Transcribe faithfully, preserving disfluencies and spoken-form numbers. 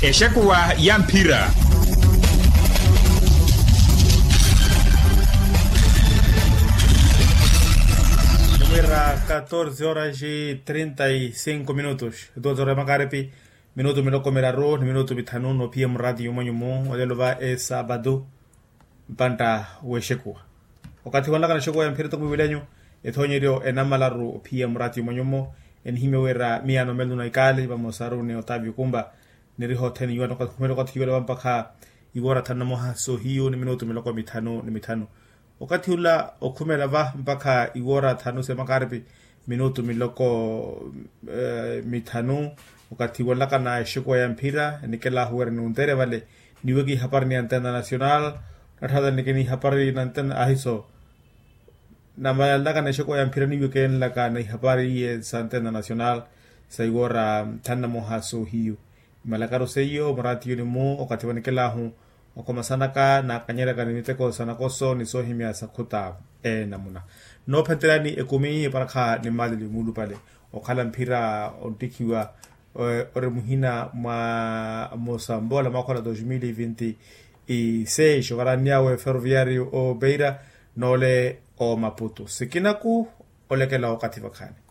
Exekuwa ya mphira. Nimwira catorze horas e trinta e cinco minutos. Doze horas ya makaripi, minutu miloko miraru ni minutu mithanu noophiya muraati yumwanyumu olelo va esapatu. Mpantta w'exekuwa okathi wanlakana exekuwa ya mphira toko mwiwilenyu. Ethoonyeryo enamalaru ophiya muraati yumwanyumu. Enihimya wira miyaano melu na ikaali vamosaru ni otavio kumpa niriha othene iwano okathi iwale vampakha iwoora thanu na moha soohiyu ni minutu miloko mithanu ni mithanu. Okathi ula okhumela va mpakha iwoora thanu se makaripi minutu miloko mithanu. Okathi wanlakana exekuwa ya mphira enikelahu wira nintere vale niweke ihapari ni antena nacional. Natthaatani nikeni ihapari na antena ahiso. Namanlakana exekuwa ya mphira niweke enlakana ihapari iye sa antena nacional sa iwoora thanu na moha soohiyu. Imalakaru seiyo muraati yunimu okathi vanikelahu okomasanaka naakanyeryaka ni miteko sa nakoso ni soohimya sa khuta. Enamuna noophenteryani ekumi eparakha ni mali ni muulupale okhala mphira onttikhiwa ori muhina mwa mosambola mwakhola dos mil e vinte e seis okaranniyawe ferroviario o beira noole o maputo sikinaku olekela okathi vakhaani.